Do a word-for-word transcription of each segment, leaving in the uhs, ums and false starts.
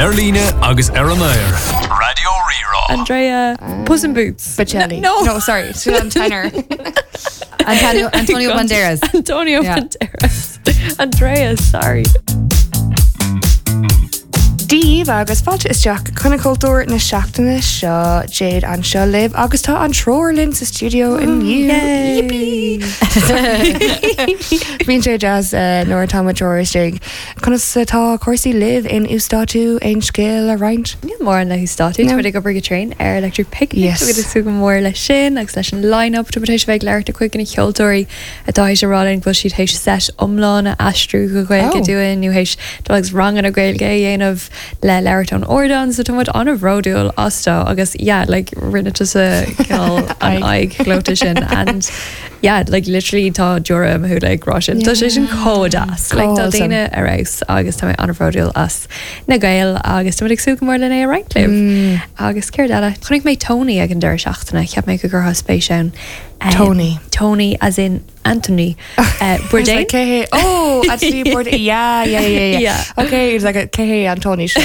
Ar líne agus ar an aer. Raidió Rí-Rá. Andrea Puss in Boots. Bocelli. No. No, sorry. An tenor. Antonio, Antonio Banderas. Antonio Yeah. Banderas. Andrea, sorry. Díomh agus fáilte isteach chun cultúr na seachtaine seo Jade anseo libh agus tá an triúr linn sa studio inniu. Yippee! Bíonn sé deas uh, nuair atá triúr istigh. Conas atá cúrsaí libh in Uasdátú aon scéal a roinnt? Níl mórán le hUasdátú No. no. ag obair go tréan ar Electric Picnic Yes. agus sú go mór leis sin agus leis an line-up tá éis bheith leir a chuig na ceoltóirí atá éis a rá linn go bhfuil siad théis set iomlán a aistriú go Gaeilge Oh. dúinn nó théis dul agus ranganna Gaeilge a dhéanamh le labhairt ón ardán so tá muid an-bhródúil astu agus yeah like rinne tusa cineál an aghaidh ghleoite sin and yeah like literally tá deora i mo shúile ag rá sin Tá sé sin chomh deas like tá Awesome. daoine ar fheabhas agus tá mé an-bhródúil as na Gaeil agus tá ag súil go mór lena é roinnt libh. Mm. Agus céard eile chonaic mé Tony ag an deireadh seachtaine cheap mé go gcuirfeá spéis ann. Um, Tony. Tony as in Anthony uh, Bourdain. Cé hé Oh actually Bourdain yeah yeah yeah yeah, Yeah. Okay it's like a cé hé an Tony seo.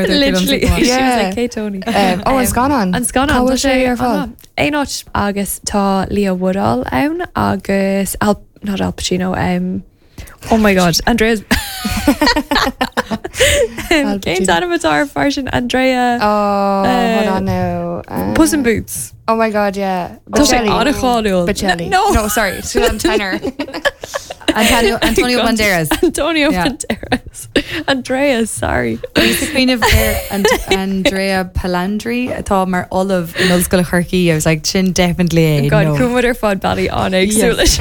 Literally she was Yeah. like "Cé Tony. Um, oh an scannán An scannán Cá tá bhfuil sé ar fáil? Aon áit agus tá Leo Woodall ann agus Al not Al Pacino um, Oh my god Andreas Al Cén Pacino. t-ainm atá ar fear sin Andrea Oh hold Uh, on now. Uh, Puss in Boots Oh my god yeah. Tá sé Bocelli. an-cháiliúil. Bocelli. No. No sorry an tenor. Antonio, Antonio God. Banderas. Antonio Yeah. Banderas Andreas sorry Bhí cuimhneamh ar Ant- Andrea Palandri atá mar ollamh in Ollscoil Chorcaí. I was like sin definitely é. God no. chuaigh muid ar fad bealaí an-éagsúil leis.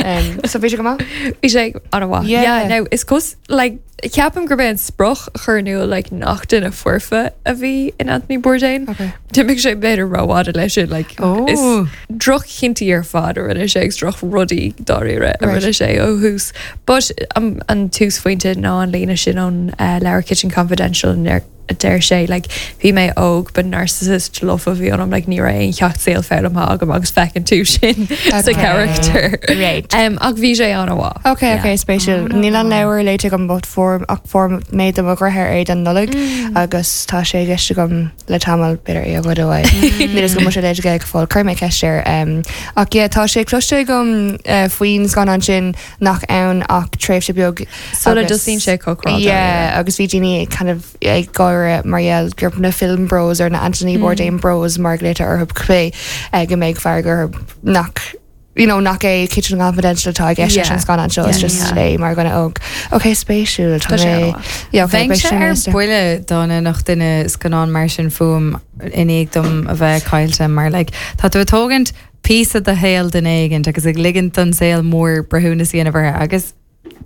um, so bhí sé go maith? Bhí sé an-mhaith. Yeah. Yeah, now is cos like ceapaim gurb é an sprioc a chur in iúl like nach duine foirfe a bhí in Anthony Bourdain. Okay. D'imigh sé b'fhéidir rófhada leis sin like Oh. is drochinntí ar fad a rinne sé agus drochrudaí dáiríre a Right. rinne sé ó thús. But um, an túsphointe ná an líne sin ón uh, leabhar Kitchen Confidential ner a deir sé like bhí mé óg but narcissist lofa bhí anam like ní raibh aon cheacht saoil foghlamtha agam agus feiceann tú sin sa Okay. character. Right. Um, ach bhí sé an-mhaith. Okay, okay, spéisiúil. Níl an leabhar léite agam but fuair ach fuair mé do mo dheartháir é don Nollaig agus tá sé i gceist agam le tamall b'fhéidir é a ghoid uaidh. Níl go sé léite go fóill chuir mé ceist air. Um, ach yeah, tá sé cloiste agam uh, faoin scannán sin nach ann ach tréimhse beag Sula agus- dtosaíonn sé cócráil. Yeah, agus bhí daoine kind of ag gáire mar gheall gur na film bros ar na Anthony Bourdain bros mar léite orthu clé go mbeidh fearg orthu nach you know, nach é Kitchen Confidential atá i gceist Yeah. an scannán seo is Yeah. just Yeah. é mar dhuine óg. Ok, spéisiúil Tá sé an-mhaith. Yeah, okay, Bheinn sé ar buile dá nach duine scannán mar sin fúm i ndiaidh dom a bheith caillte mar like, tá tú ag tógaint píosa de shaol duine éigin agus ag ligint don saol mór breithiúnas a dhéanamh air agus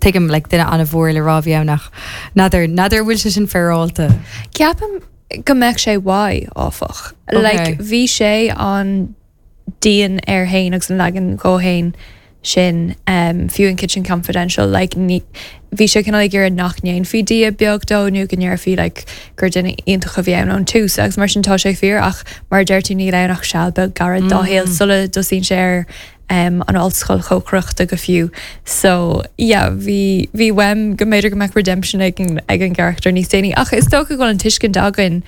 tuigim like, duine an-mhór le rá nach n'fheadar n'fheadar bhfuil sé sin féaráilte. Ceapaim go mbeadh sé uaidh áfach. Okay. Like bhí sé an dian air féin agus an leagan dó féin sin um, fiú in Kitchen Confidential like, ní, bhí sé cineál ag iarraidh nach ndéanfaí dia beag dó nó go ndéarfaí like, gur duine iontach a bhí ann ón tús agus mar sin tá sé fíor ach mar deir tú níl ann ach seal beag gairid dá shaol sula dtosaíonn sé ar um, an ollscoil chócaireachta go fiú. So yeah, bhí bhí uaim go mb'fhéidir go mbeadh redemption ag an, ag an gcarachtar níos déanaí ach is dócha go bhfuil an tuiscint againn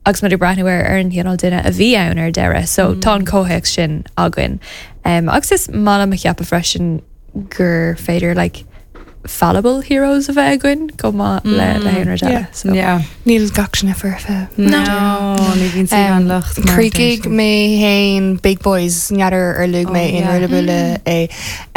agus muid ag breathnú ar ar an chineál duine a bhí ann ar deireadh, so mm. tá an comhthéacs sin againn. Um, agus is maith liom a cheapadh freisin gur féidir like, fallible heroes a bheith againn go maith le le haon rud eile. Yeah. So. Yeah. Níl gach sin foirfe. No, ní bhíonn sí an locht mar Chríochnaigh mé féin Big Boys n'fheadar ar luaigh mé Oh, in yeah. rud buile é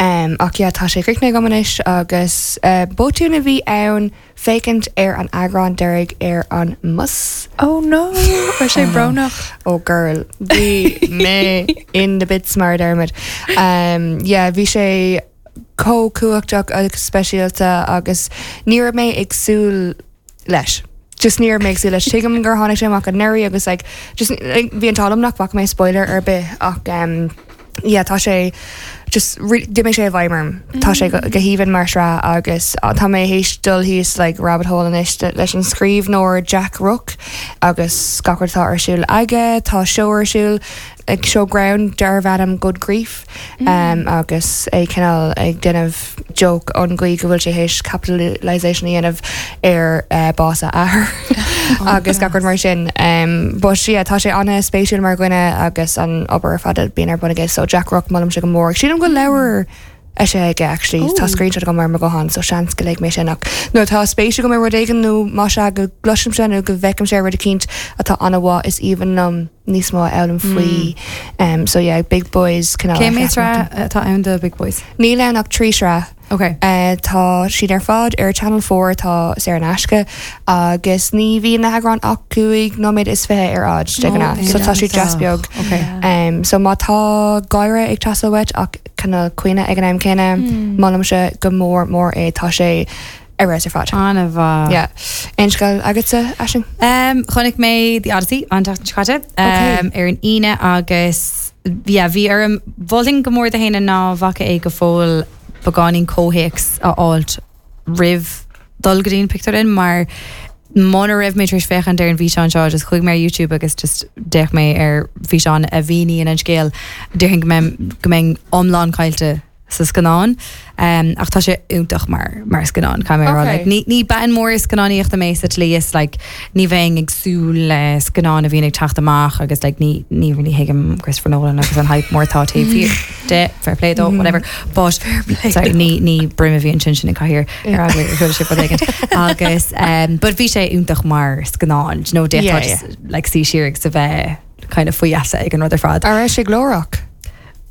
um, ach yeah, tá sé críochnaithe agam anois agus uh, botún a bhí ann féachaint ar an eagrán deiridh ar an mbus. Oh no, ar sé brónach. Oh girl, bhí mé in the bits mar dermid. Um, yeah, bhí sé chomh cumhachtach agus speisialta agus ní raibh mé ag súil leis. Just ní raibh mé ag súil leis tuigim gur tháinig sé amach anuraidh agus like, just like, bhí an t-ádh liom nach bhfaca mé spoiler ar bith ach um, yeah, tá sé just d'imigh sé i bhfeidhm orm. Tá sé go go haoibhinn mar sraith agus uh, tá mé théis dul thíos like rabbit hole anois leis an scríbhneoir Jack Rooke agus gach rud atá ar siúl aige, tá seó ar siúl ag seó greann darbh ainm Good Grief um, agus é cineál ag déanamh joke an gcaoi go bhfuil sé théis capitalization a dhéanamh ar uh, bás a athar agus gach rud mar sin. Um, but yeah, tá sé an-spéisiúil mar dhuine agus an obair ar fad a bíonn ar bun aige so Jack Rock molaimse go mór. Sílim go leabhar é sé aige actually tá screenshot agam mar mo ghuthán so seans go léifidh mé sin ach nó tá spéis agam rud éigin nó má sé go gcloisim sé nó go bhfeicim sé rud eicínt atá an-mhaith is even um, níos mó a fhoghlaim faoi um, so yeah Big Boys cineál Cé mhéad sraith atá ann de Big Boys? Níl ann ach trí sraith Okay. Uh, tá siad ar fad ar Channel Four tá saor in aisce agus ní bhíonn na heagráin ach cúig nóiméad is fiche ar fhad de ghnáth. so tá siad deas beag. Okay. Um, so má tá gáire ag teastáil uait ach cineál caoineadh ag an am céanna molaimse go mór mór é tá sé ar ar fad. An-mhaith. Yeah. Aon scéal agatsa Aisling? Um, chonaic mé The Odyssey an tseachtain seo caite um, ar an Aoine agus yeah, bhí orm mholfainn go mór do dhaoine nach bhfaca é go fóill beagáinín comhthéacs a fháilt roimh dul go dtí an pictiúrlann mar muna raibh mé tar éis féachaint ar an bhfíseán seo just chuaigh mé ar YouTube agus just d'fhéach mé ar físeán a mhíníonn an scéal déarfainn go mbeinn go mbeinn iomlán caillte sa scannán um, ach tá sé iontach mar mar scannán ca mé Okay. like, ní ní bean mór scannánaíochta mé sa tslí is like, ní bheinn ag súil le scannán a bhíonn ag teacht amach agus like, ní ní really thuigim Christopher Nolan agus an hype mór tá taobh thiar de fair play dó whatever but sorry, ní ní brim a bhíonn sin sin an cathaoir ar eagla gur chuala sibh rud éigin. agus um, but bhí sé iontach mar scannán no Yeah, yeah, just like suí siar agus a bheith kind of faoi gheasa ag an rud ar fad. An raibh sé glórach?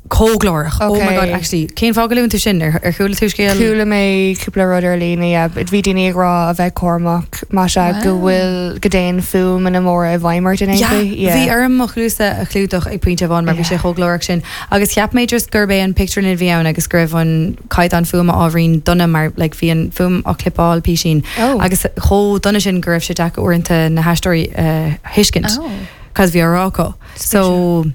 Chomh glórach Oh my Okay. god actually cén fáth go luann tú sin ar ar chuala tú scéal Chuala mé cúpla rud ar líne yeah, but bhí daoine ag rá a bheith cúramach má sé go bhfuil go dtéann fuaimeanna móra i bhfeidhm ort in aon Yeah, chaoi. Bhí orm mo chluasa a chlúdach ag pointe amháin mar bhí Yeah. sé chomh glórach sin agus cheap mé just gurb é an pictiúrlann a bhí ann agus go raibh an caighdeán fuaime ábhairín dona mar like, bhí an fuaim á clipeáil písín Oh. agus chomh dona sin go raibh sé deacair uaireanta na haisteoirí uh, thuiscint. Oh. Cos bhí á rá So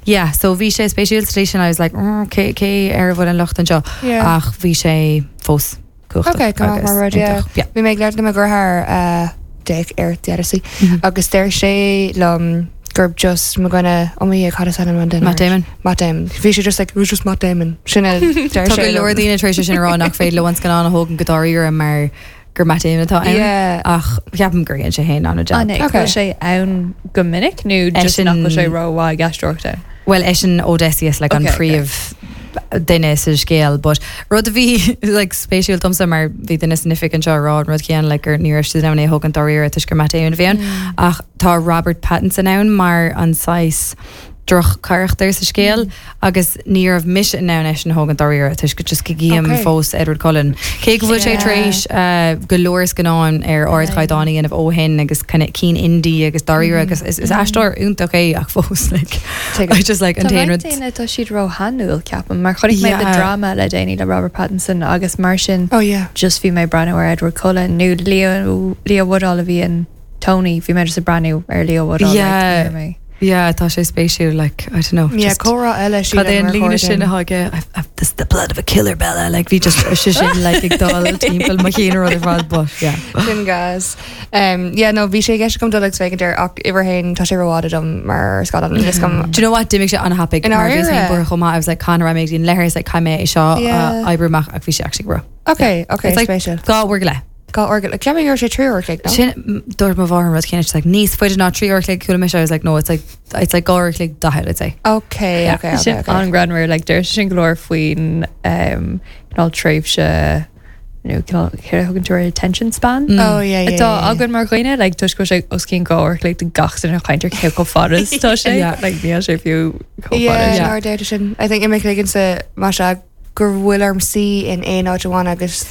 yeah, so bhí sé spéisiúil sin I was like mm, cé cé ar a bhfuil an locht anseo Yeah. ach bhí sé fós cumhachtach Okay, go agus mar rud, yeah. iontach. Yeah. Bhí mé ag labhairt le mo dheartháir uh, d'fhéach ar The Odyssey Mhm. agus deir sé liom gurb just mo dhuine iomaí cad is ainm an duine Matt Damon. Matt Damon. Bhí sé just like it was just Matt Damon. Sin a deir Tá sé go leor liom. daoine tar éis sin a rá nach féidir leo an scannán a thógaint go dáiríre mar gur Matt Damon atá ann. Yeah. ach ceapaim gur dhein sé féin an An job. é Okay. okay. sé ann go minic nó just Eisean- nach bhfuil sé rómhaith ag aisteoireacht ann? Well eisean Odysseus like, an Okay, okay. príomh duine sa scéal, but rud a bhí like, spéisiúil domsa mar bhí duine san oifig anseo rá an rud céanna like, gur ní raibh siad in ann é thógaint dáiríre toisc gur Matt Damon a bhí ann. ach tá Robert Pattinson ann mar an saghas droch-charachtar sa scéal agus ní raibh mise in ann eisean a thógaint dáiríre toisc go just go gcím Okay. fós Edward Cullen. Cé go bhfuil sé Yeah. tar éis uh, go leor scannán ar ardchaighdeán a dhéanamh ó shin agus kind of cinn indie agus dáiríre agus is, is aisteoir iontach é ach fós like, Tuigim. I just like an Tá t-aon roinnt rud daoine tá siad róshainiúil ceapaim mar chonaic mé Yeah. the drama le déanaí le Robert Pattinson agus mar sin Oh yeah. just bhí mé breathnú ar Edward Cullen nó Leo Leo Woodall a bhí in Tony bhí mé just ag breathnú ar Leo Woodall like, Yeah. ní raibh mé- Yeah, tá sé spéisiúil like I don't know Yeah, just- comhrá eile Cad é an sílim ar líne sin chóir atá this the blood of a killer Bella like bhí just sé sin like ag dul timpeall mo chinn rud ar fad but yeah Sin gas. Um, yeah, no, bhí sé i gceist agam dul agus féachaint air ach uimhir haon tá sé rófhada dom mar scannán mm. gom Do you know what d'imigh sé an-thapaidh In mar bhí áirithe? buartha chomh maith I was like can mé an leithreas like caithfidh mé é seo Yeah. uh, oibriú amach ach bhí sé actually bro Okay, okay, It's like spéisiúil. dhá uair go leith Dhá uair go ceapaim gur sé trí uair like, no? Sin dúirt mo mháthair an rud céanna she's like níos faide ná trí uair an chloig chuala mise I was like no it's like it's like dhá uair an chloig daichead I'd say Okay, Yeah. okay, okay, Sin okay. an-ghreannmhar like deir sin go leor faoin um, cineál tréimhse nó cineál cé thugann tú ar attention span. Mm. Oh yeah, yeah. Atá yeah, yeah. againn mar dhaoine like toisc go bhfuil sé os cionn dhá uair like gach duine ag caint ar cé chomh fada is tá sé Yeah. like níl sé fiú chomh Yeah, fada. Yeah. yeah. deir sin. I think imigh ligann má sé gur bhfuil orm suí in aon áit amháin agus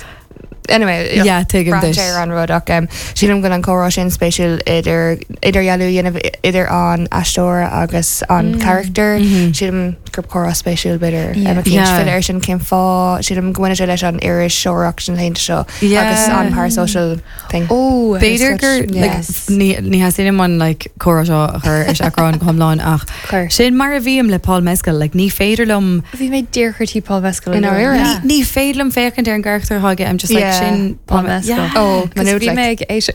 anyway Yeah, tuigim duit. ar an rud ach um, sílim go an comhrá sin spéisiúil idir idirdhealú a dhéanamh idir an aisteoir agus an Mm. character Mhm. sílim gur comhrá spéisiúil b'fhéidir Yeah. Yeah. fill ar sin cén fáth sílim go bhfuil sé leis an iriseoireacht sin laethanta seo Yeah. agus an parasocial thing. Oh, B'fhéidir gur like, Yes. ní ní theastaíonn uaim like comhrá seo a chur ar seachrán go hiomlán ach Chuir. sin mar a bhím le Paul Mescal like ní féidir liom Bhí mé díreach tí Paul Mescal In áirithe. Yeah. ní féidir liom féachaint ar an gcarachtar atá aige I'm just like Yeah. sin Paul Mescal. Yeah. Oh, Cos Manúd bhí mé ag éis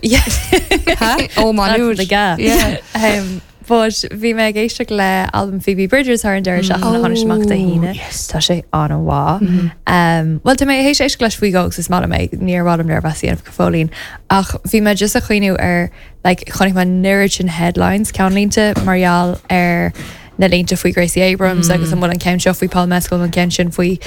Huh? Oh Manúd the ga. Yeah. Um, but bhí mé ag éisteacht le album Phoebe Bridgers thar an deireadh seachtaine tháinig amach Dé hAoine Tá sé an-mhaith. Um, well tá mé théis éisteacht leis faoi dhó agus is maith liom é níor mhaith liom léirmheas a dhéanamh go fóillín ach bhí mé just ag cuimhneamh ar like, chonaic mé an oiread sin headlines ceannlínte mar gheall ar na línte faoi Gracie Abrams mm. agus an bhfuil an ceann seo faoi Paul Mescal an ceann sin faoi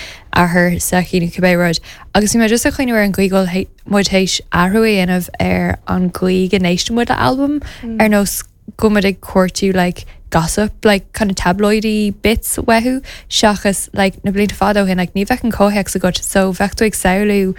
athair s'aici nó cibé rud. Agus bhí mé just ag cuimhneamh ar an gcaoi go bhfuil muid théis athrú a dhéanamh ar an gcaoi go n-éisteann muid le album mm. ar nós go muid ag cuartú like, gossip like kind of tabloidy bits uathu seachas like, na blianta fada ó shin like, ní bheadh an comhthéacs agat so bheadh tú ag samhlú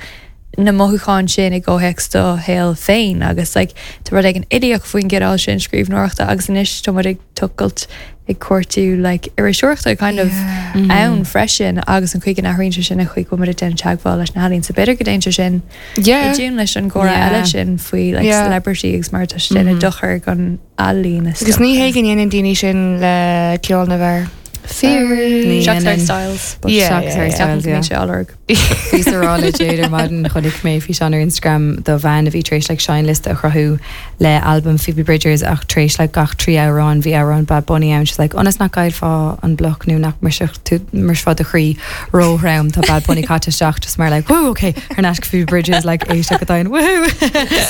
na mothúcháin sin i gcomhthéacs do shaol féin agus like, tá rud éigin uilíoch faoin gcineál sin scríbhneoireachta agus anois tá muid ag tochailt ag cuartú like, iriseoireachta kind of yeah. ann freisin agus an chuig an athraíonn sé sin an chuig go muid ag déanamh teagmháil leis na healaíona so b'fhéidir go dtéann sé sin Yeah. i dtiún leis an gcomhrá Yeah. eile sin faoi like, Yeah. celebrity agus mar tá sé déanamh dochar don ealaín is Agus ní hé go ndéanann daoine sin le ceol na bhfear. Fíor Ní Seachas dhéanann. Styles but Yeah, Seachas yeah, Harry yeah. Styles, yeah. sé lorg. Bhí sa rá le Jade ar maidin chonaic mé físeán ar Instagram do bhean a bhí tar éis like, seinnliosta a chruthú le album Phoebe Bridgers ach tar éis like, gach trí amhrán bhí amhrán Bad Bunny ann she's like ionas nach gcaillfeá an bloc nó nach mbrisfeá do chroí róthrom tá Bad Bunny caite isteach just mar like woo okay ar ais Phoebe Bridgers like éisteacht go domhain woohoo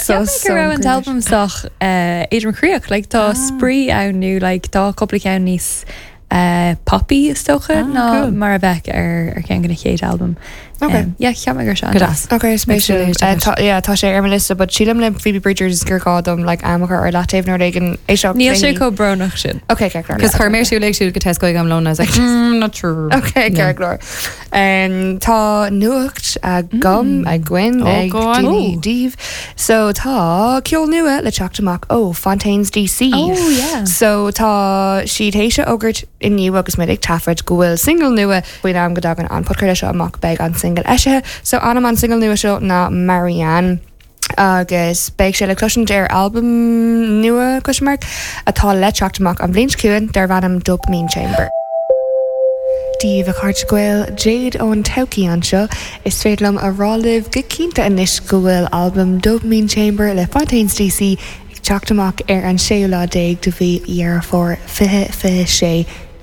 So go raibh an album sách éadrom croíoch like tá spraoi ann nó like tá cúpla ceann níos uh, poppy is dócha Ah, ná cool. mar a bheadh ar ar ceann den chéad album. Okay. Um, yeah, cheap mé gur se Go deas. Okay, spéisiúil. Éisteacht Uh, leis. tá- yeah, tá sé ar mo liosta, but sílim le Phoebe Bridgers gur gá dom like am a chur ar leataobh nuair éigin éisteacht Níl sé léi. chomh brónach sin. Okay, ceart go leor. Cos chuir mé siúl ag siúl go Tesco ag am lón I was like mm, not sure Okay, No. ceart go leor. Um, tá nuacht agam againn Oh, ag go on. daoine Oh. daoibh. So tá ceol nua le teacht amach ó Fontaines DC. Oh, yeah. So tá siad théis a fhógairt inniu agus muid ag taifead go bhfuil single nua faoin am go dtagann an podchraoladh seo amach beidh an single eisithe. So ainm an single nua seo ná Marianne. agus beidh sé le cloisint ar album nua question mark atá le teacht amach an bhliain seo chugainn darb ainm Dopamine Chamber. Dia daoibh a chairde Gael Jade ón todhchaí anseo is féidir liom a rá libh go cinnte anois go bhfuil album Dopamine Chamber le Fontaines DC ag teacht amach ar an séú lá déag de mhí Dheireadh Fómhair fiche fiche sé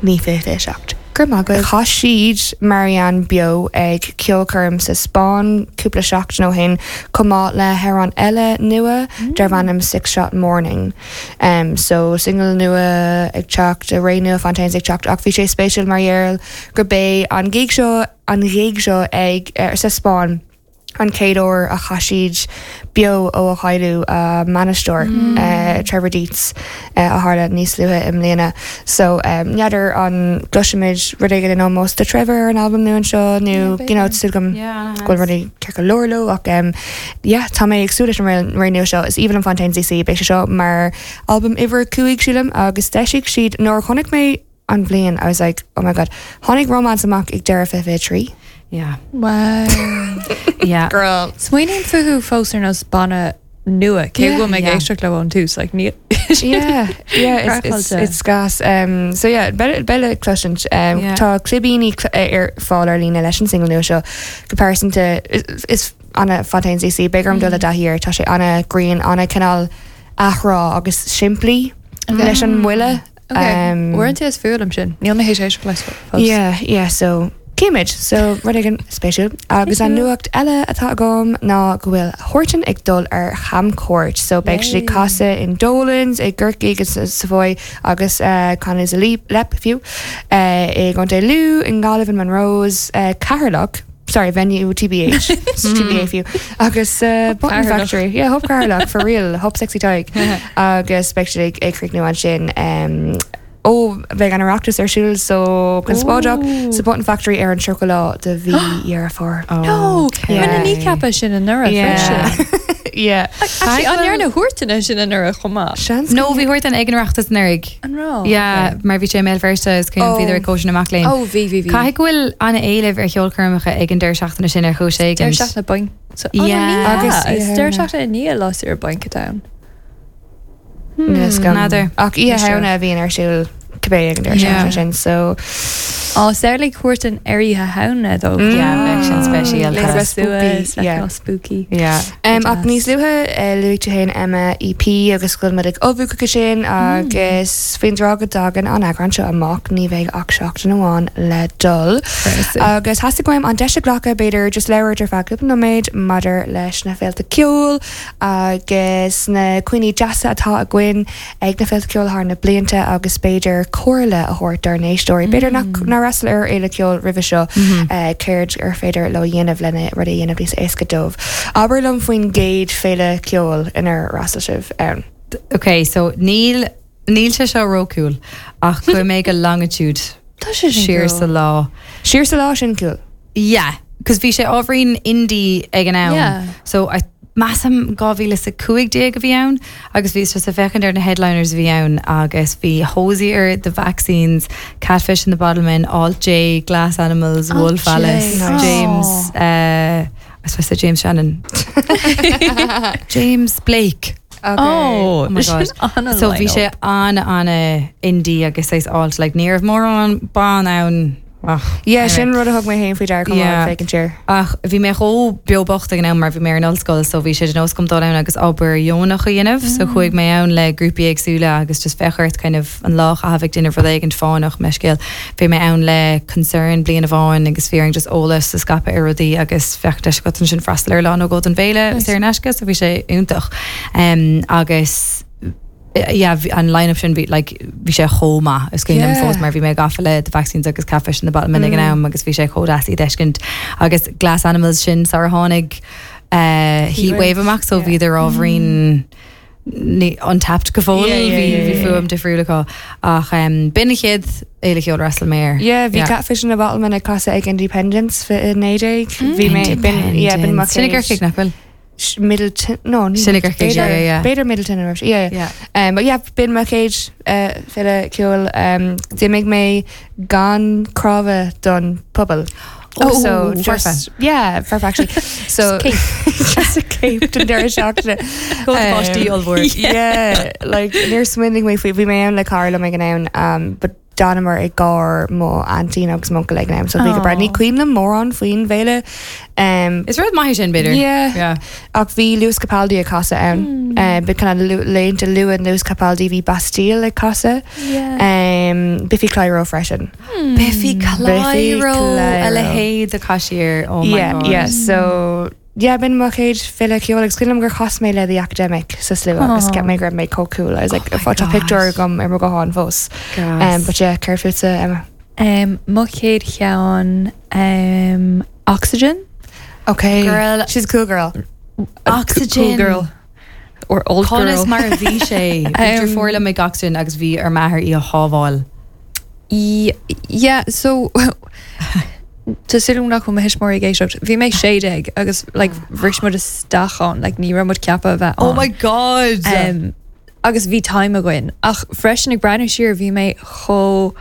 ní fiche fiche seacht. Gur maith Chaith siad Marianne beo ag ceolchoirm sa Spáinn cúpla seachtain ó shin chomh maith le hamhrán eile nua darb ainm Six Shot Morning. Um, so single nua ag teacht a ré nua Fontaines ag teacht ach bhí sé spéisiúil mar gheall gurb é an gig seo an gig seo ag uh, sa Spáinn an chéad uair a chaith siad beo ó a chailleadh uh, mbainisteoir mm. uh, Trevor Dietz uh, a tharla níos luaithe i mbliana. So um, n'fheadar an gcloisfimid rud éigin in ómós do Trevor ar an album nua seo nó Yeah, you know, súil agam Yeah, go bhfuil rudaí ceart go leor leo ach um, yeah, tá mé ag súil leis an ré nua seo is aoibhinn liom Fontaines DC beidh sé seo mar album uimhir cúig sílim agus d'eisigh siad nuair a chonaic mé an bhliain I was like oh my god tháinig romance amach ag deireadh fiche fiche trí. Yeah. Wow. Yeah. Girl. Smaoiním fúthu fós ar nós banna nua cé Yeah. go mé Yeah. éisteacht le ón tús like ní yeah, yeah, it's, it's, Craiceáilte. it's gas. Um, so yeah, beidh beidh le cloisint. Um, Yeah. Tá clibíní cl- ar fáil ar líne leis an single nua seo go pearsanta is, is ana Fontaines DC beidh orm dul i dtaithí air tá sé ana green ana cineál athrá agus simplí leis an mbuille. Okay. Uaireanta is fuath liom sin níl mé théis éisteacht leis fós. Yeah, yeah, so címid, so rud éigin spéisiúil. Agus an nuacht eile atá agam ná go bhfuil Huartan ag dul ar chamchuairt, so beidh siad Yay. casadh in Dolan's i gCorcaigh agus sa Savoy agus uh, Connolly's Leap Lep fiú uh, i gContae Lú in Gaillimh in Monroe's uh, Ceatharlach sorry venue TBH TBA fiú agus uh, Button Ceatharlach. Factory yeah Hub Ceatharlach for real Hub Sexy Tig agus beidh siad ag ag críochnú ansin um, ó bheidh an Oireachtas ar siúl so conspóideach sa Button Factory ar an tríocha lá de mhí Dheireadh Fómhair. No, Okay. Rinne Kneecap sin anuraidh freisin. Yeah. Actually, an ndearna Huartan sin anuraidh chomh maith. Seans No, bhí Huartan ag an Oireachtas anuraidh. An raibh? Yeah, mar bhí sé i mBéal Feirste is cén Oh. bhí ar cóisir na mac léinn. Oh, bhí bhí bhí. Caithfidh go bhfuil an-éileamh ar cheolchoirmeacha ag an deireadh seachtaine sin ar chúis éigin. Deireadh seachtaine bainc. So, oh, Yeah. Agus Agus- is deireadh seachtaine i ndiaidh lá saoire bainc atá ann. N'fheadar. N'fheadar. Ach í Ní sure. hena a bhíonn ar siúl cibé ag an deireadh Yeah. seachtaine sin so Á samhlaigh cúirt an ar Oíche Shamhna dó. Yeah, bheadh sin speisialta. Little bit spooky, yeah. spooky. Yeah. Um, ach níos luaithe uh, luaigh tú féin Emma EP agus go bhfuil muid ag ullmhú chuige sin agus faoin dtráth go dtagann an eagrán seo amach ní bheidh ach seachtain amháin le dul. Agus theastaigh uaim an deis a ghlacadh b'fhéidir just labhairt ar feadh cúpla nóiméad maidir leis na féilte ceoil agus na cuimhní deasa atá againn ag na féilte ceoil thar na blianta agus b'fhéidir comhairle a thabhairt dár n-éisteoirí. B'fhéidir nach nár fhreastail ar fhéile ceoil roimhe seo eh, céard ar féidir leo dhéanamh lena rud a dhéanamh níos éasca dóibh. Abair liom faoin gcéad féile ceoil inar fhreastail sibh ann. Okay, so níl níl sé seo ró-cool ach chuaigh mé go Longitude Tá sé sin siar cool. sa lá. Siar sa lá sin cool. Yeah, cos bhí sé ábhairín indie ag an am. Yeah. So I measaim dhá mhíle is a cúig déag a bhí ann agus bhí just ag féachaint ar na headliners a bhí ann agus bhí Hozier, The Vaccines, Catfish and the Bottlemen, Alt J, Glass Animals, Alt Wolf J. Alice, Nice. James uh, I suppose said James Shannon. James Blake. Okay. Oh, Oh my God. So bhí sé an an indie agus é alt like ní raibh mórán ban ann Ach, Yeah, anyway. sin rud a thug mé féin faoi deara Yeah. féachaint siar. Ach bhí mé chomh beo bocht ag an am mar bhí mé ar an ollscoil so bhí sé de nós agam dul ann agus obair dheonach a dhéanamh so chuaigh mé ann le grúpaí éagsúla agus just bheith ort kind of an lá a bheith déanamh rud éigin fánach meiscéil. Bhí mé ann le Concern bliain amháin agus bhí just eolas a scaipeadh ar rudaí agus bheadh deis agat ansin freastal ar lá nó dhó den bhféile saor in aisce so bhí sé iontach. Um, agus yeah, bhí- an line-up sin bhí like, bhí sé chomh maith is cuimhin liom Yeah. fós mar bhí mé gafa le The Vaccines agus Catfish and the Bottlemen ag an am agus bhí sé chomh deas iad a fheiscint agus Glass Animals sin sar a tháinig uh, Heatwave amach so Yeah. bhí ábhairín ní untapped go fóill Yeah, yeah, bhí yeah, bhí yeah. fuaim difriúil acu ach um, b'in an chéad fhéile cheoil ar fhreastail mé air. Yeah, bhí Yeah. Catfish and the Bottlemen ag casadh ag Indiependence fiche naoi déag. Bhí mé b'in yeah, b'in mo Sin i chéad- gCorcaigh nach bhfuil? Sh- Midleton no ní- Sin i gCorcaigh, b'fhéidir- yeah, yeah, yeah. B'fhéidir Midleton an raibh- yeah. Yeah. Um, but yeah, b'in mo chéad uh, féile ceoil um, d'imigh mé gan cnámha don phuball. Oh, so foirfe. just yeah, perfect actually. So just a cape don deireadh seachtaine. Páistí ollmhór. yeah, like níor smaoinigh mé faoi bhí mé ann le cara liom ag an am um, but d'fhanamar i gcarr mo aintín agus m'uncail ag an am so bhí go breá. Ní cuimhin liom mórán faoin bhféile. Um, Is rud maith sin b'fhéidir. Yeah. Yeah. ach bhí Lewis Capaldi ag casadh ann. Mm. Bhí kind of laethanta luath Lewis Capaldi bhí Bastille ag casadh. Yeah. Um, Biffy Clyro freisin. Biffy Clyro a Clyro. leithéid de cashier oh my yeah, God. yeah. So yeah, b'in mo chéad féile ceoil agus cuimhin liom gur chas mé le The Academic sa slua agus Aw. cheap mé go raibh mé chomh cool. I was like, Oh my tá God. pictiúr agam ar mo ghuthán fós. Um, but yeah, céard fútsa Emma. Um, mo chéad cheann um, Oxygen. Okay. Girl. She's a cool girl. Oxygen. Cool girl. Or old Conas girl. mar a bhí sé Um, fór le mé Oxygen agus bhí ar m'athair í a shábháil. Y- Yeah, so Tá súil nach bhfuil mo thuismitheoirí ag éisteacht. Bhí mé sé déag agus like, bhris muid isteach ann, like, ní raibh muid ceaptha a bheith Oh ann. my god! Um, agus bhí time againn. Ach freisin ag breathnú siar bhí mé chomh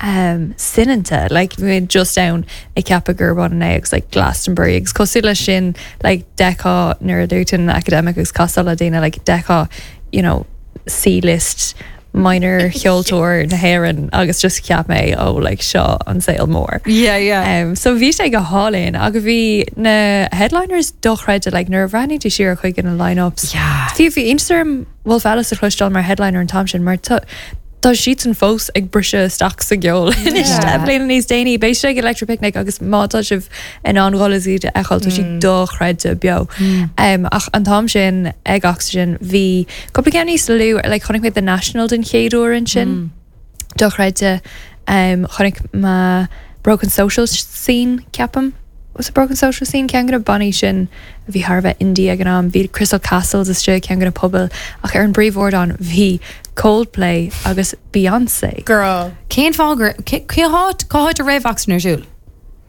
um, soineanta, like, bhí mé just ann ag ceapadh gurb ionann é agus like, Glastonbury agus cosúil leis sin like, d'fheicfeá nuair a dúirt tú Academic agus casadh le daoine like, d'fheicfeá you know, C-list minor cheoltóir na hÉireann agus just cheap mé ó like, seo an saol mór. yeah, yeah. Um, so bhí sé go hálainn agus bhí na headliners dochreidte like, nuair a bhreathnaigh tú siar chuig na line-ups. Yeah. Bhí bhí Instagram Wolf Alice a chloisteáil mar headliner an t-am sin mar tá Tá siad san fós ag briseadh isteach sa gceol Yeah. bliana níos déanaí beidh sé ag Electric Picnic agus má tá sibh in ann dul is iad a fheiceáil tá siad dochreidte beo. Um, ach an t-am sin ag Oxygen bhí cúpla ceann níos lú like, chonaic mé The National den chéad uair ansin. Dochreidte um, chonaic mé Broken Social Scene ceapaim. Was it Broken Social Scene ceann de na bannaí sin a bhí thar a bheith indie ag an am bhí Crystal Castles istigh ceann de na pubaill ach ar an bpríomhardán bhí Coldplay agus Beyoncé. Girl. Cén fáth gur cé háit cá háit a raibh Oxygen ar siúl?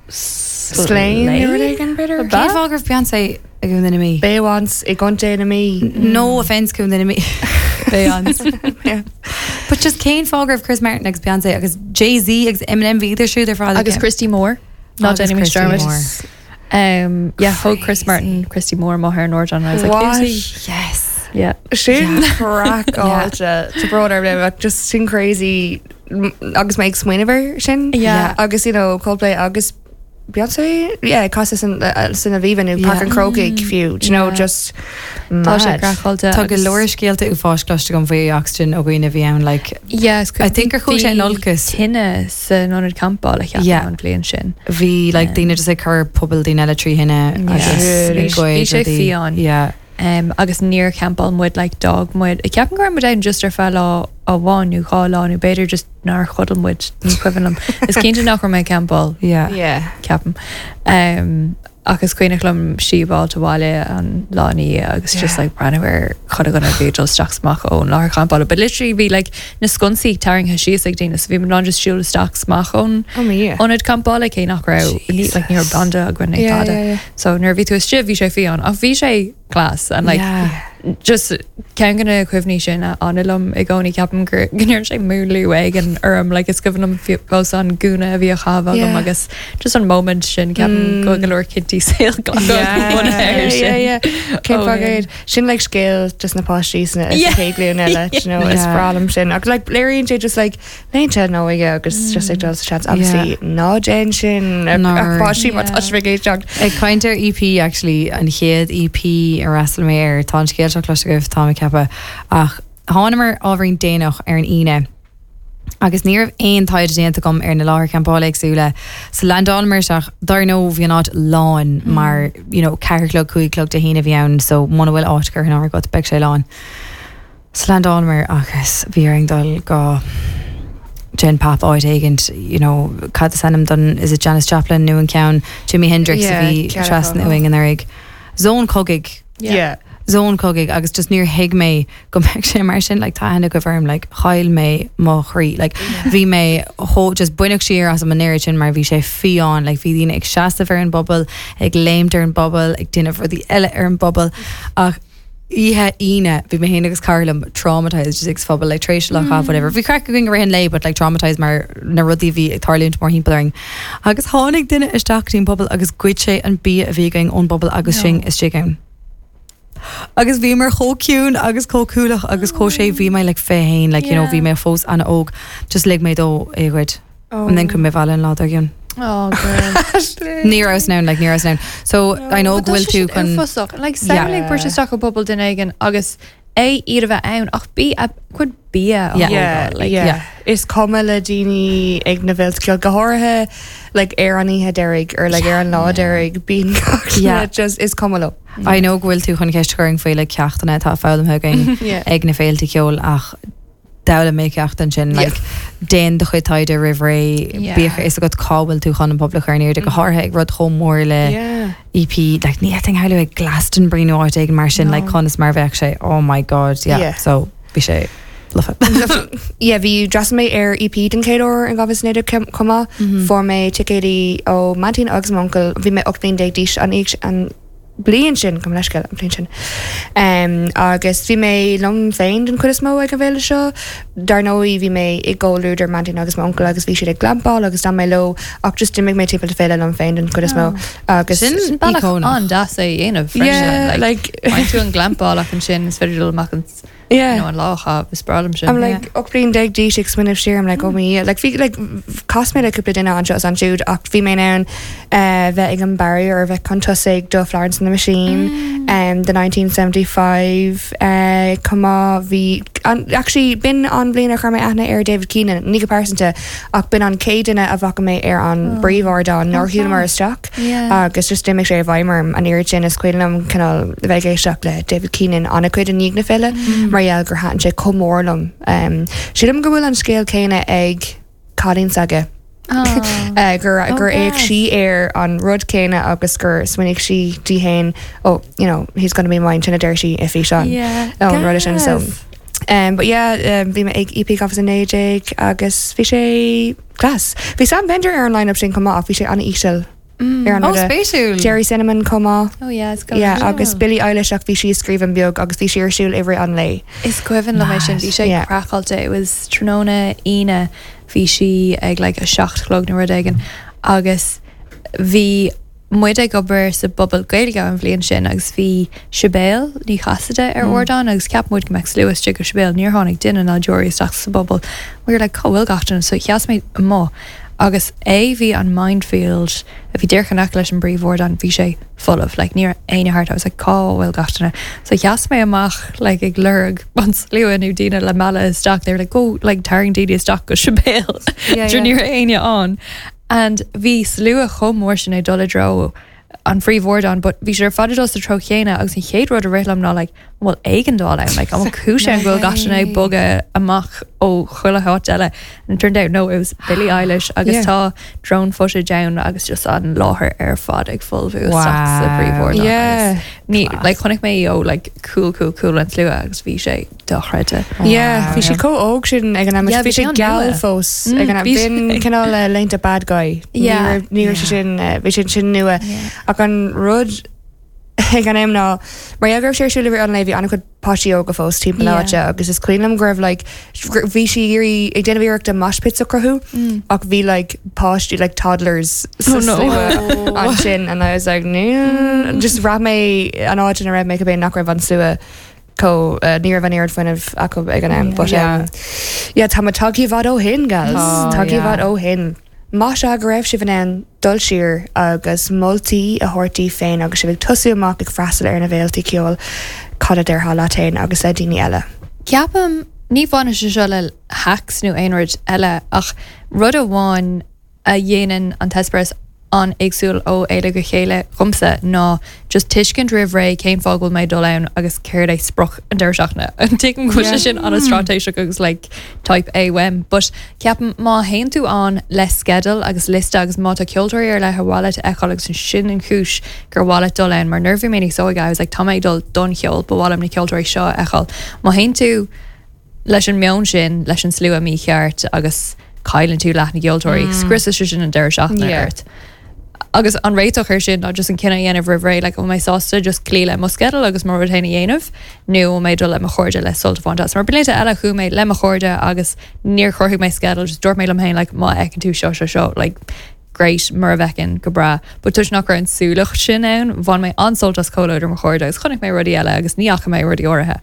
Slane nó rud éigin b'fhéidir? Cén fáth go raibh Beyoncé ag an duine mí? Beyoncé i gContae na Mí. No offense cún duine mí. Beyoncé. Yeah. But just cén fáth go raibh Chris Martin agus Beyoncé agus Jay-Z agus Eminem bhí idir siúd ar fad Agus Christy Moore. Not Agus Jenny Christy Dermot. Moore. Um, yeah, thug Chris Martin, Christy Moore mo ar an ardán and I was like, What? "Who's he?" Yes. Yeah. Sin craiceáilte Tá bród ar like just sin crazy agus mé ag smaoineamh air sin Yeah. agus you know Coldplay agus Beyonce yeah casadh san uh, san Aviva nó Yeah. Páirc an Chrócaigh fiú do you know Yeah. just Tá sé mad. craiceáilte Tá go agus- leor scéalta uafáis cloiste agam faoi Oxygen ó dhaoine a bhí ann like Yes, I think gur chuaigh sé in olcas. Tine san ionad campála Yeah. yeah. an bhliain sin. Bhí like daoine just ag cur puball daoine eile trí thine Yeah. agus Really? ag goid Bhí sé rudaí. fiáin. Yeah. Um, agus níor champáil muid like d'fhág muid. I ceapaim go raibh muid ann just ar feadh lá amháin nó dhá lá nó b'fhéidir just nár chodail muid ní cuimhin liom. Is cinnte nach raibh mé ag campáil Yeah. yeah ceapaim. Um, agus cuimhin liom siúl abhaile an lá ina dhiaidh agus just Yeah. like breathnú ar chuile dhuine bhí dul isteach amach ón láthair champála. But literally bhí like na sconsaí tarraingthe síos ag daoine, so bhí muid just siúl isteach amach ón oh my yeah ionad campála cé nach raibh ní like ní raibh banda againn ag Yeah, tada. yeah, yeah. So nuair a bhí tú istigh bhí sé fiáin ach bhí sé class and like Yeah. just ceann de na cuimhní sin a fhanann liom i gcónaí ceapaim gur go ndearna sé múnlú éigin orm like is cuimhin liom fós an gúna a bhí á chaitheamh agam Yeah. agus just an moment sin ceapaim go go leor cinntí saoil Yeah, yeah, yeah. Cén Oh, fáth yeah. é? Sin like scéal just na páistí sna Yeah. chéad ghlúin eile you know, is Yeah. breá liom sin agus like léiríonn sé just like laethanta na hóige agus just like dul sa seans obviously ná déan sin ach Nár. ach páistí mar Yeah. tá sibh ag éisteacht. Ag caint ar EP actually an chéad EP ar fhreastail mé air tá an scéal seo cloiste agaibh tá mé ag ceapadh ach thángamar ábhairín déanach ar an Aoine. Agus ní raibh aon taighde déanta agam ar na láthair campála éagsúla sa landálamar isteach dar ndóigh bhí an áit lán mar you know, ceathair a chlog cúig a chlog Dé hAoine bhí ann so muna bhfuil áit curtha in áirithe agat beidh sé lán. Sa landálamar agus bhí orainn dul go Gen Pop áit éigin you know, cad is ainm don is it Janis Joplin nó an ceann Jimi Hendrix a Yeah, bhí ceann trasna acu. uainn anuraidh. Zón cogaidh Yeah. zón cogaidh agus just níor thuig mé go mbeadh sé mar sin like, tá aithne agaibh orm like, chaill mé mo chroí like, bhí mé chomh just baineadh siar asam an oiread sin mar bhí sé fiáin like, bhí daoine ag seasamh ar an bpuball ag léimt ar an bpuball ag déanamh rudaí eile ar an bpuball ach oíche Aoine bhí mé féin agus cara liom traumatized just ag phuball like tar éis lá mm. whatever bhí craic againn i rith an lae but like traumatized mar na rudaí bhí ag tarlúint mórthimpeall orainn agus tháinig duine isteach dtí'n puball agus ghoid sé an bia a bhí againn ón bpuball agus No. sin istigh ann. Agus bhí mar chomh ciúin agus chomh cúlach agus chomh sé bhí mé like féin like you know Yeah. bhí mé fós an-óg just lig mé dó é ghoid Oh. and then chuaigh mé abhaile an lá dár gcionn. Oh, girl. Ní raibh ann like ní raibh ann. So I know go bhfuil tú chun uafásach like samhlaigh Yeah. yeah. isteach i bpuball duine éigin agus é iad a bheith ann ach bí a chuid bia a Yeah. Yeah, thógáil, like, yeah. yeah. Is cuma le daoine ag na féilte ceoil go háirithe like ar an oíche deiridh or like ar an lá deiridh bíonn gach Yeah. just is cuma leo. I know go bhfuil tú chun ceist a chur faoi le ceachtanna atá foghlamtha againn Yeah. ag na féilte ceoil ach d'fhoghlaim mé ceacht ansin like déan do chuid taighde roimh ré Yeah. bíodh a fhios agat cá bhfuil tú chun an puball a chur in airde go háirithe ag rud chomh mór le Yeah. EP like ní fhéadfainn a shamhlú ag Glastonbury nó áit éigin mar sin No. like conas mar bheadh sé oh my god yeah, Yeah. so bhí sé lofa. Yeah, bhí d'fhreastail mé ar EP den chéad uair in dhá mhíle naoi déag chomh maith fuair mé ticéidí ó m'aintín agus m'uncail bhí mé ocht bliain déag d'aois an oíche an bliain sin gabh mo leithscéal an bliain sin. Um, agus bhí mé liom féin den chuid is mó ag an bhféile seo, Dar ndóigh bhí mé i gcomhluadar m'aintín agus m'uncail agus bhí siad ag glampáil agus d'fhan mé leo ach just d'imigh mé timpeall na féile liom féin den chuid is mó agus Sin Sin bealach íocónach. an-deas é a dhéanamh freisin, Yeah, like, like Faigheann tú an glampáil ach ansin is féidir dul amach an yeah. you know, an lá a is breá liom sin. I'm like ocht bliain déag d'aois ag smaoineamh siar I'm like oh me like bhí like chas mé le cúpla duine anseo is ansiúd ach bhí mé ann uh, bheith ag an barrier ar bheith chun tosaigh do Florence and the Machine um, the nineteen seventy five uh, chomh maith bhí an, actually b'in an bhliain a chuir mé aithne ar David Keenan ní go pearsanta ach b'in an chéad duine a bhfaca mé ar an bpríomhardán nuair a shiúlamar isteach Yeah. agus just d'imigh sé i bhfeidhm orm an oiread sin is cuimhin liom cineál bheith ag éisteacht le David Keenan an-chuid i ndiaidh na féile mar gheall gur thaitin sé chomh mór liom. Um, Sílim go bhfuil an scéal céanna ag cailín s'aige. Oh. Uh, gur Oh, gur fhéach gas. sí ar an rud céanna agus gur smaoinigh sí di féin oh you know he's gonna be mine sin a deir sí i físeán Yeah. an rud sin so Gas. Um, but yeah, um, bhí mé ag EP dhá mhíle naoi déag agus bhí sé class. Bhí Sam Fender ar an line-up sin chomh maith ach bhí sé an-íseal ar an Oh rud a- spéisiúil. Gerry Cinnamon chomh maith. Oh yeah, it's Yeah, agus Billie Eilish ach bhí sí ag scríobh an beag agus bhí sí ar siúl i rith an lae. Is cuimhin liom é sin bhí sé Yeah. craiceáilte it was tráthnóna Aoine bhí sí ag like a seacht a chlog nó rud éigin agus bhí muid ag obair sa bpuball Gaeilge an bhliain sin agus bhí Sibéal Ní Chasaide ar mm. ardán agus cheap muid go mbeadh slua istigh go Sibéal níor tháinig duine ná deoraí isteach sa bpuball. We were like cá bhfuil gach duine so sheas mé amuigh agus é bhí an Mindfield a bhí díreach in aice leis an bpríomhardán bhí sé folamh like ní raibh éinne thart I was like cá bhfuil gach duine so sheas mé amach like ag lorg an slua nó daoine le mealladh isteach they were like go like tarraing daoine isteach go Sibéal Yeah, yeah. ní raibh éinne ann and bhí slua chomh mór sin ag dul i dtreo an phríomhardán, but bhí sé ar fad ag dul sa treo chéanna agus an chéad rud a rith liom ná like an bhfuil éigeandáil ann like an bhfuil cúis ann go bhfuil gach duine ag bogadh amach ó chuile háit eile and it turned out no it was Billie Eilish agus Yeah. tá drone footage ann agus just an láthair ar fad ag folmhú isteach sa Wow. phríomhardán Yeah. agus ní like chonaic mé ó like cool cool cool an slua agus bhí sé dochreidte. Yeah, bhí sí chomh óg sin ag an am Yeah, bhí bhí sé sé geal an-nua. fós Mm, ag an am bhí b'in sé. cineál eh, léinte bad guy. Yeah. Ní raibh sé sin eh, bhí sin sin nua ach an rud ag an am ná mar go raibh sé ar siúl an bhí an-chuid páistí óga fós timpeall Yeah. áite agus is cuimhin liom go raibh like bhí sí ag ag déanamh iarracht mosh pits a chruthú ach bhí like páistí like toddlers Oh, no. ansin and I was like no just bhraith mé an áit ina raibh mé go bé nach raibh an slua có uh, ní raibh an oiread fuinnimh acu ag an am Yeah. but um, yeah tá tagtha i bhfad ó shin gals Oh, tagtha i yeah. bhfad ó shin. Más ea go raibh sibh in ann dul siar agus moltaí a thabhairt daoibh féin agus sibh ag tosú amach ag freastal ar na bhféiltí ceoil cad a déarfá leat féin agus le daoine eile. Ceapaim ní bhaineann sé seo le hacks nó aon rud eile ach rud amháin a dhéanann an t-eispéireas an-éagsúil ó fhéile go chéile dhomsa ná just tuiscint roimh ré cén fáth go bhfuil mé dul ann agus céard é sprioc an deireadh seachtaine. An tuigim go bhfuil sé sin an-straitéiseach agus like type A uaim, but ceapaim má théann tú ann le sceideal agus liosta agus má tá ceoltóirí ar leith ar mhaith leat a fheiceáil agus sin an chúis gur mhaith leat dul ann mar nuair a bhí mé níos óige I was like tá mé ag dul don cheol ba mhaith liom na ceoltóirí seo a fheiceáil. Má théann tú leis an meon sin leis an slua mícheart agus cailleann tú leath na gceoltóirí, mm. scriosann sé sin an deireadh seachtaine Yeah. ort. Agus an réiteach ar sin ná just an cinneadh a dhéanamh roimh ré, like, mé sásta just cloí le mo sceideal agus mo rud féin a dhéanamh, nó mé dul le mo chairde le sult a bhaint as. Mar blianta eile chuaigh mé le mo chairde agus níor chruthaigh mé sceideal, just dúirt mé liom féin like, má fheiceann tú seo seo seo, like, great mura bhfeiceann go breá, but toisc nach raibh an súlacht sin ann, bhain mé an-sult as comhluadar mo chairde agus chonaic mé rudaí eile agus ní fhaca mé rudaí áirithe.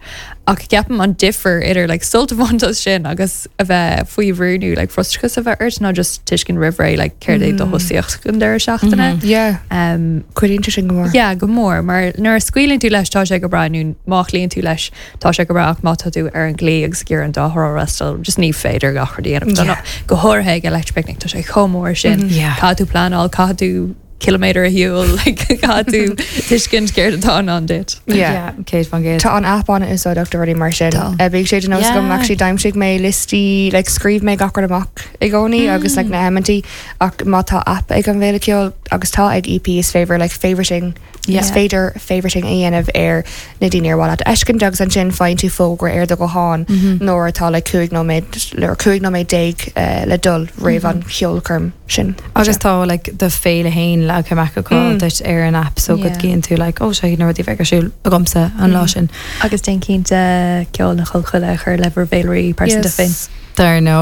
Ach ceapaim an difear idir like, sult a bhaint as sin agus a bheith faoi bhrú nó like, frustrachas a bheith ort ná just tuiscint roimh ré like, céard é do thosaíocht an deireadh seachtaine. Yeah, Um, cuidíonn sé sin go mór. Yeah, go mór, mar nuair a scaoileann tú leis tá sé go breá nó má chloíonn tú leis tá sé go breá ach má tá tú ar an gclaí agus ag iarraidh an dá thrá a fhreastal, just ní féidir gach rud a dhéanamh. Tá Yeah. ná- Go háirithe ag Electric Picnic tá sé chomh mór sin. Yeah. Caithfidh tú pleanáil, caithfidh tú kilometer a shiúl, like, caithfidh tú tuiscint céard atá i ndán duit. Yeah. Céad faoin gcéad. Tá an app an-úsáideach do rudaí mar sin. Tá. Uh, Bíonn sé de nós Yeah. agam actually d'aimsigh mé liostaí like, scríobh mé gach rud amach i gcónaí agus like, na heiminti ach má tá app ag an bhféile ceoil agus tá ag EP is féidir like, favoriting Yeah. is féidir favoriting a dhéanamh ar na daoine ar mhaith leat a fheiscint agus ansin faigheann tú fógra ar do ghuthán nuair atá le cúig nóiméad le cúig nóiméad déag uh, le dul roimh an cheolchoirm sin. Agus tá like do féile féin leagtha amach acu Mm. duit ar an app so go Yeah. gcíonn tú like ó sé na rudaí bheith ar siúl agamsa an lá sin. Agus déan cinnte ceol na Collchoille a chur le bhur bhféilirí pearsanta féin. Dar nó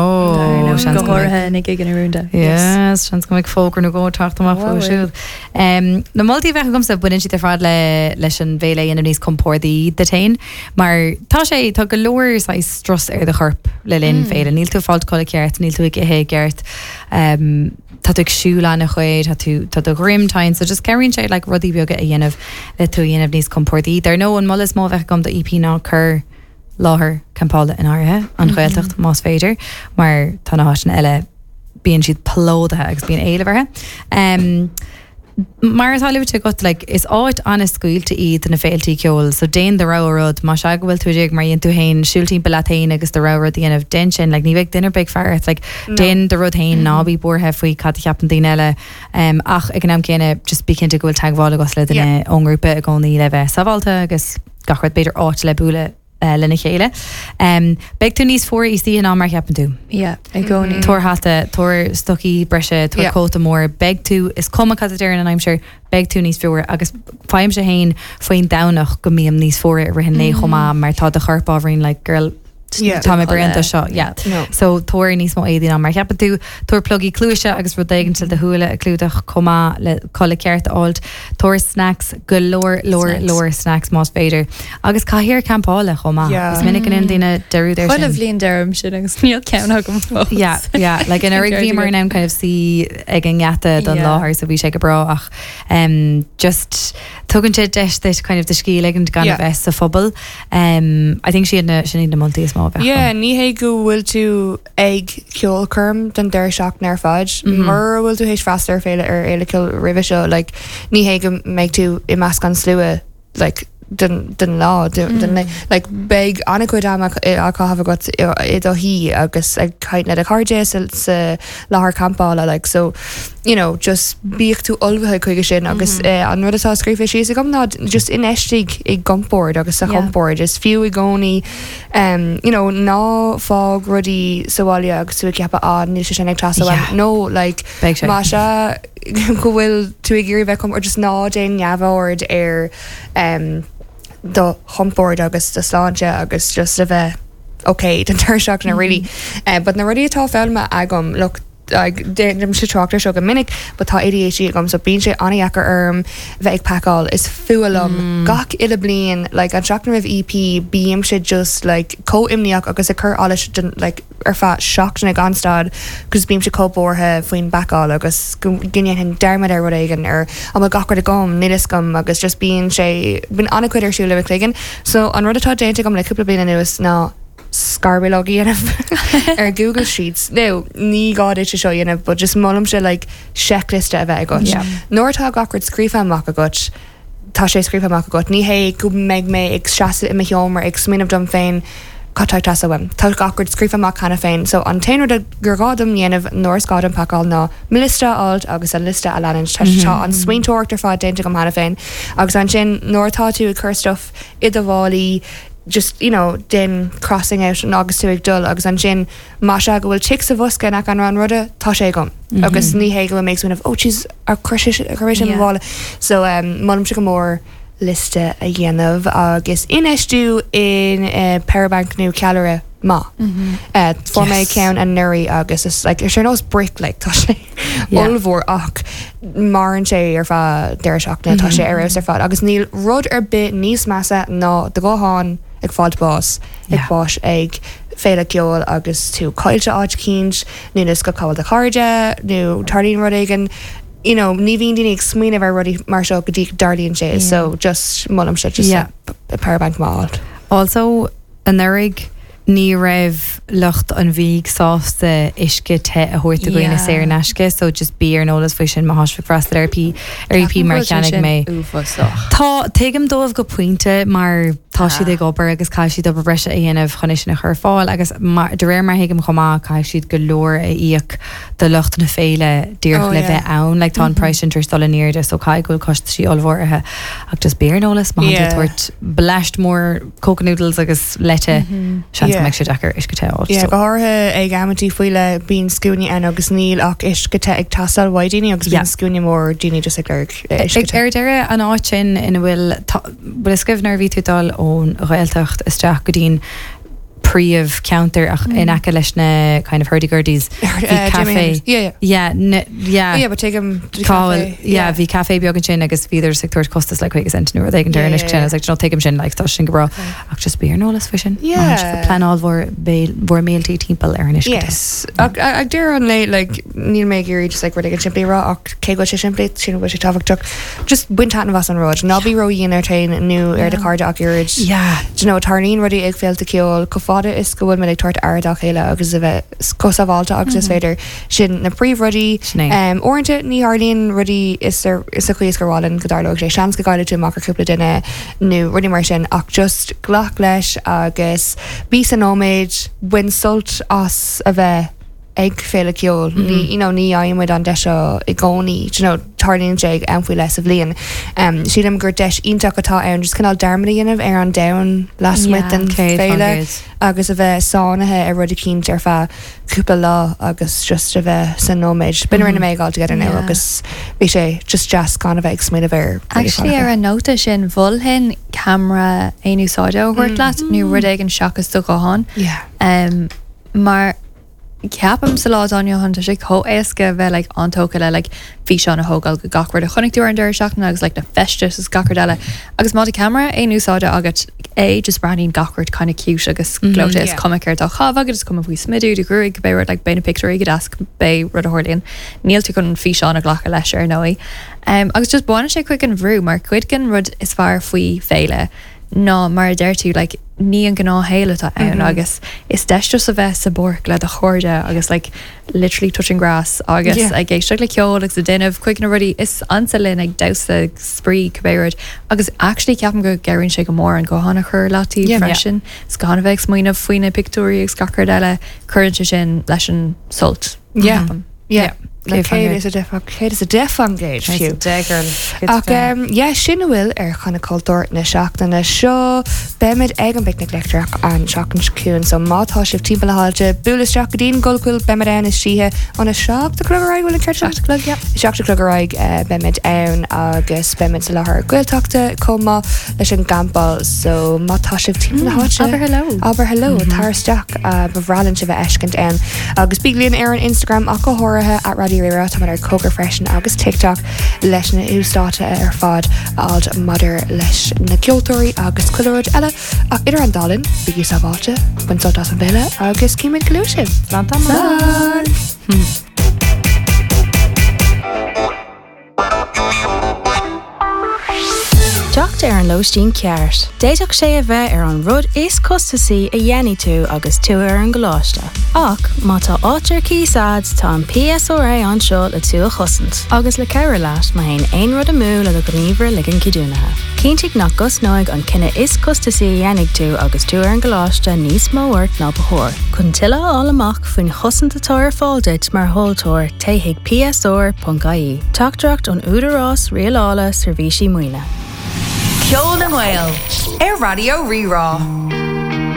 Go háirithe na gigeanna rúnda. Yes, seans go mbeidh fógra nó dhó ag teacht amach Wow, fúthu siúd. Um, na moltaí a bheadh agamsa baineann siad ar fad le leis an bhféile a dhéanamh níos compordaí duit féin, mar tá sé tá go leor saghas strus ar do chorp le linn féile. Níl tú ag fáil codladh ceart, níl tú ag ithe ceart. Um, tá tú ag siúl an-chuid, tá tú tá do dhroim tinn, so just cabhraíonn sé like, rudaí beaga a dhéanamh le tú a dhéanamh níos compordaí. Dar ndóigh an moladh is mó a bheadh agam do EP ná cur láthair campála in áirithe an Ghaeltacht más féidir, mar tá na háiteanna eile bíonn siad plódaithe agus bíonn éileamh orthu. Um, mar atá luaite agat like, is áit an-scaoilte iad na féiltí ceoil, so déan do rogha rud má sé go bhfuil tú ag mar dhéan tú féin siúl timpeall leat féin agus do rogha rud a dhéanamh déan sin, like, ní bheidh duine ar bith ag faire ort, like, déan do rud féin ná bí buartha faoi cad a cheapann daoine eile um, ach ag an am céanna just bí cinnte go bhfuil teagmháil agat le duine yeah. ón ngrúpa i gcónaí le bheith sábháilte agus gach rud b'fhéidir áit le bualadh uh, lena chéile. Um, beidh tú níos fuaire istoíche ná mar cheapann tú. Yeah, i gcónaí. Tabhair hata, tabhair stocaí breise, tabhair Yeah. cóta mór, beidh tú is cuma cad a deir an aimsir, beidh tú níos fuaire agus faighimse féin faoin Domhnach go mbím níos fuaire i rith an lae chomh maith mar tá do chorp ábhairín like girl Yeah. Tá mé bréanta seo yeah. No. So tabhair níos mó éadaí ná mar cheapann tú tabhair plugaí cluaise agus rud éigin le do shúile a chlúdach chomh maith le codladh ceart a fháil tabhair snacks go leor leor Snacks. leor snacks más féidir agus cathaoir campála chomh maith Yeah. Is minic an daoine dearúd ar Chuile sin. bhliain deirim sin agus níl ceann agam fós. Yeah, yeah, like in bhí mar an kind of suí ag an ngeata don Yeah. láthair so bhí sé go breá ach um, just tugann sé deis duit kind of do scíth a ligean gan Yeah. a bheith sa phuball. Um, I think sin na sin na moltaí is mó a bheith Yeah, agam. ní hé go bhfuil tú ag ceolchoirm den deireadh seachtaine ar fad. Mhm. Mura bhfuil tú théis freastal ar féile ar fhéile ceoil roimhe seo, like, ní hé go mbeidh tú i measc an slua like, den, den lá den, den, like, beidh an-chuid ama á chaitheamh agat i do shuí agus ag caint le do chairde sa, sa láthair campála like, so you know, just bíodh tú ullmhaithe chuige sin agus eh, an rud atá scríofa síos agam ná just infheistigh i gcompord agus sa Yeah. chompord is fiú i gcónaí um, you know, ná fág rudaí sa bhaile agus tú ag ceapadh á níl sé sin ag teastáil Yeah. uaim. No like Beidh sé. má sé go bhfuil tú ag iarraidh bheith com or just ná déan neamhaird ar um, do chompord agus do sláinte agus just a bheith okay den deireadh seachtaine really. Uh, but na rudaí atá foghlamtha agam look like déanaim sé trácht seo go minic, but tá ADHD agam so bíonn sé an-deacair orm bheith ag pacáil is fuath liom gach uile bliain like an seachtain roimh EP bím sé just like chomh imníoch agus ag cur allais den like ar feadh seachtaine gan stad agus bím sé chomh buartha faoin bpacáil agus go ndéanfainn dearmad ar rud éigin ar an bhfuil gach rud agam níl a fhios agam agus just bíonn sé bíonn an-chuid ar siúl le cloigeann so an rud atá déanta agam le cúpla bliain anuas ná scarbhileog a dhéanamh ar Google Sheets. No, ní gá duit seo dhéanamh, but just molaimse like checklist a bheith agat. Yeah. Nuair atá gach rud scríofa amach agat, tá sé scríofa amach agat. Ní hé go mbeidh mé ag seasamh i mo sheomra ag smaoineamh dom féin cad tá teastáil uaim. Tá gach rud scríofa amach cheana féin, so an t-aon rud gur gá dom dhéanamh nuair is gá dom pacáil ná mo liosta a fháil agus an liosta a leanúint. Tá tá an smaointeoireacht ar fad déanta agam cheana féin. Agus ansin nuair atá tú ag cur stuff i do mhálaí, just you know déan crossing out an agus tú ag dul agus ansin má sé go bhfuil tic sa bhosca nach an ran ruda tá sé agam agus ní hé go makes of oh jeez ar chuir sin Yeah. bhála so um, molaimse go mór liosta a dhéanamh agus infheistiú in uh, powerbank nó ceallra maith. Uh, Fuair mé Yes. ceann anuraidh agus is like ar nós brick like tá sé Yeah. ollmhór ach maireann sé ar feadh deireadh seachtaine tá sé ar fheabhas ar fad agus níl rud ar bith níos measa ná do ghuthán ag fáil bás ag Yeah. bás ag féile ceoil agus tú caillte áit éicint nó is go cáil do chairde nó tarlaíonn rud éigin you know, ní bhíonn daoine ag smaoineamh ar rudaí mar seo go dtí go dtarlaíonn sé so just molaimse just Yeah. a, a powerbank maith. Also anuraidh ní raibh lucht an bhídh sásta uisce te a thabhairt do dhaoine Yeah. saor in aisce, so just bí ar an eolas faoi sin má tá sibh ag freastal ar EP ar EP mar cheannaigh mé. Uafásach. Tá tuigim dóibh go pointe mar tá siad Ah. ag obair agus caithfidh siad obair breise a dhéanamh chun é sin a chur fáil agus mar- de réir mar thuigim chomh maith caithfidh siad go leor a íoc do lucht na féile díreach Oh, le yeah. bheith ann, like tá an price sin tar éis dul in airde so caithfidh go bhfuil costaisí ollmhóra ach just bí ar an eolas má Yeah. tabhairt bleaist mór coca noodles agus leite seans Yeah. go mbeidh sé deacair uisce te a fháil, Yeah, so. go háirithe ag amantaí faoi leith bíonn scuainí ann agus níl ach uisce te ag teastáil uaidh daoine agus Yeah. bíonn scuaine mór daoine just ag lorg eh, uisce Ag te. ar deireadh an áit sin ina bhfuil tá- bhfuil a fhios nuair bhí tú dul ón Ghaeltacht isteach go dtí'n príomhcheantar ach in aice leis na kind of hurdy-gurdies bhí Eh, Jimi café Hendrix. Yeah, yeah. Yeah, n- yeah. Yeah, but take him to the Cáil, cafe. yeah, bhí café beag ansin agus bhíodar ag tabhairt costas le chuig cent nuair ag Yeah, an yeah, yeah. like no tuigim sin like tá sin go breá ach just bí ar an eolas faoi sin Yeah. pleanáil bhur bhur mbéilí timpeall ar an uisce te. Yes. Ach ag deireadh an lae like níl mé ag iarraidh just like rud éigin simplí a rá ach cé go bhfuil sé simplí sin bhfuil sé tábhachtach just bain taitneamh as an rud ná bí ródhian ort féin nó ar do chairde ach oiread Yeah. Do you know, tarlaíonn rudaí ag féilte ceoil chomh fada is go bhfuil muid ag tabhairt aire dá chéile agus a bheith chomh sábháilte agus is féidir sin na príomhrudaí Sin é. um, Uaireanta ní tharlaíonn rudaí is ar is a chaoi is gur mhaith linn go dtarlódh sé seans go gcaillfidh tú amach ar cúpla duine nó rudaí mar sin ach just glac leis agus bí sa nóiméad bain sult as a bheith ag féile ceoil mm -hmm. you know, ní fhaighimid an deis seo i gcónaí you know, tarlaíonn sé am faoi leith sa bhliain. Um, sílim gur deis iontach atá ann just cineál dearmad a dhéanamh ar an domhan lasmuigh den féile agus a bheith sáinnithe ar rud eicínt ar feadh cúpla lá agus just a bheith san nóiméad. B'in rinne mé All Together Now agus bhí sé just deas gan a bheith ag smaoineamh ar Actually ar an nóta sin mholfainn ceamara aon úsáide a thabhairt leat nó rud éigin seachas do ghuthán. Yeah. Um, mar ceapaim sa lá atá inniu ann tá sé chomh éasca bheith like, an-tógtha le like, físeán a thógáil go gach rud a chonaic tú ar an deireadh seachtaine agus like, na feistis is gach rud eile. Agus má tá ceamara aon úsáide agat é just breathnaíonn gach rud kind of cute agus mm -hmm, gleoite is cuma céard atá á chaitheamh agat is cuma faoi smideadh do ghruaig beidh rud like, beidh na pictiúirí go deas beidh rud a tharlaíonn. Níl tú chun físeán a ghlacadh leis ar ndóigh. Um, agus just baineann sé cuid den bhrú mar cuid den rud is fearr faoi féile ná mar a deir tú like, ní an gnáthshaol atá ann mm -hmm. agus is deis just a bheith sa bpáirc le do chairde agus like, literally touching grass agus yeah. ag éisteacht le ceol agus ag déanamh cuid na rudaí is ansa linn ag damhsa spraoi cibé rud agus actually ceapaim go gcabhraíonn sé go mór an guthán a chur leat yeah, freisin yeah. gan a bheith ag smaoineamh faoi na pictiúirí agus gach rud eile cuireann sé sin leis an sult. Yeah. Yeah. Yeah. céad is a céad is a deich faoin gcéad fiú. Ach um, yeah, sin a bhfuil ar Chonradh Cultúr na seachtaine seo beimid ag an bPicnic Leictreach an seachtain seo chugainn so má tá sibh timpeall na háite buail isteach go dtí'n Golfpool beimid ann istigh óna seacht a chlog ar bhfuil an ceart seacht chlog seacht a chlog ar aghaidh beimid ann agus beimid sa láthair Gaeltachta chomh maith leis an gcampáil so má tá sibh timpeall na háite abair hello abair hello tar isteach ba bhreá linn sibh a fheiscint ann agus bí linn ar an Instagram ach go háirithe at Raidió Rí-Rá tá ar Cogar freisin agus TikTok leis na uasdáta ar fad a fháil maidir leis na ceoltóirí agus chuile rud eile ach idir an dá linn bígí sábháilte bain sult as an bhféile agus címid go luath sibh. Slán. Slán. Teacht ar an lóistín ceart. D'fhéadfadh sé a bheith ar an rud is costasaí a dhéanfaidh tú agus tú ar an gcoláiste. Ach má tá áit ar cíos agat, tá an PSRA anseo le tú a chosaint, agus le cabhrú leat má théann aon rud amú le do ghníomhaire ligean ceadúnaithe. Cinntigh nach gcosnóidh an cinneadh is costasaí a dhéanfaidh tú agus tú ar an gcoláiste níos mó ort ná ba chóir. Chun tuilleadh a fháil amach faoin chosaint atá ar fáil duit mar thomhaltóir téigh chuig PSR.ie. Teachtaireacht ón Údarás Rialála Seirbhísí Maoine. Ceol na nGael ar Raidió Rí-Rá.